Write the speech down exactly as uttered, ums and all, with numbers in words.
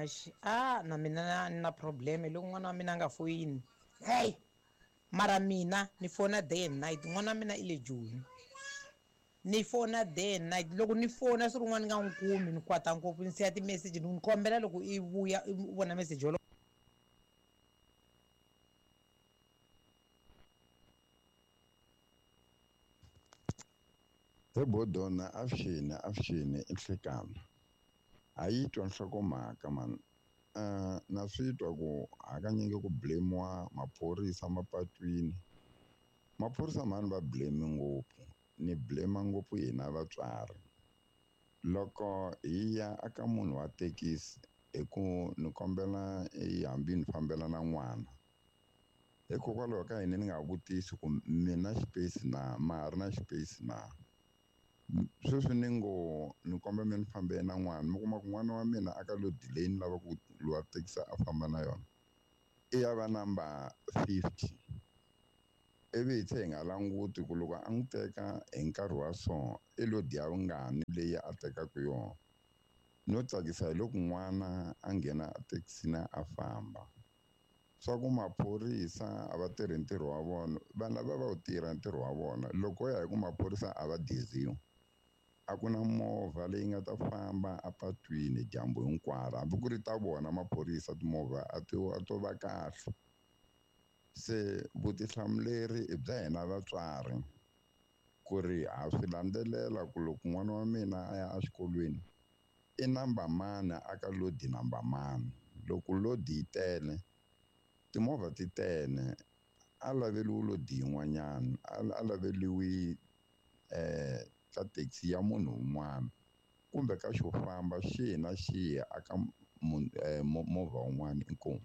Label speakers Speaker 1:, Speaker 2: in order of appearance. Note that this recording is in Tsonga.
Speaker 1: Muhaxi. A na mina ni na problem loko n'wana wa mina a nga foyini. Hey! Mara mina ni fona day and night, n'wana wa mina i le Joni. Ni fona day and night, loko ni fona siku rin'wana ni nga n'wi kumi ni kwata ngopfu ni siya ti-message ni n'wi kombela loko i vuya i vona message wolowo.
Speaker 2: He Bodona avuxeni avuxeni i nhlekani ha yi twa nhlokomhaka mani. Uh, na swi twa ku hakanyingi ku blame-iwa maphorisa mapatwini. Maphorisa mhani va blame ngopfu, ni blame ngopfu hina vatswari. Loko hi ya aka munhu wa thekisi hi ku ni kombela hambi ni fambela na n'wana, hikokwalaho ka yini ni nga vutisi ku mi na xipeyisi na, ma ha ri na xipeyisi na? Sweswi ni ngo ni kombela mi ni fambela na n'wana, mi kuma ku n'wana wa mina a ka lodi leyi ni lavaka ku lowa thekisi a famba na yona i ya va number fifty, ivi hi tlhe hi nga languti ku loko a n'wi teka hi nkarhi wa so i lodi ya vungani leyi a tekaka yona. No tsakisa hi loko n'wana a nghena ethekisini a famba. Swa ku maphorisa a va tirhi ntirho wa vona, vanhu lava va wu tirha ntirho wa vona. Loko ya hi ku maphorisa a va diziwa, a ku na movha leyi nga ta famba apatwini dyambu hinkwaro, hambi ku ri ta vona maphorisa timovha a ti a to va kahle. Se vutihlamuleri i bya hina vatswari ku ri ha swi landzelela ku loko n'wana wa mina a ya exikolweni i number mani a ka lodi number mani. Loko lodi yi tele, timovha ti tele, a laveliwi lodi yin'wanyana, a laveliwi eh ka taxi ya munhu un'wana kumbe ka xo famba xihi na xihi aka movha wun'wana. Inkomu.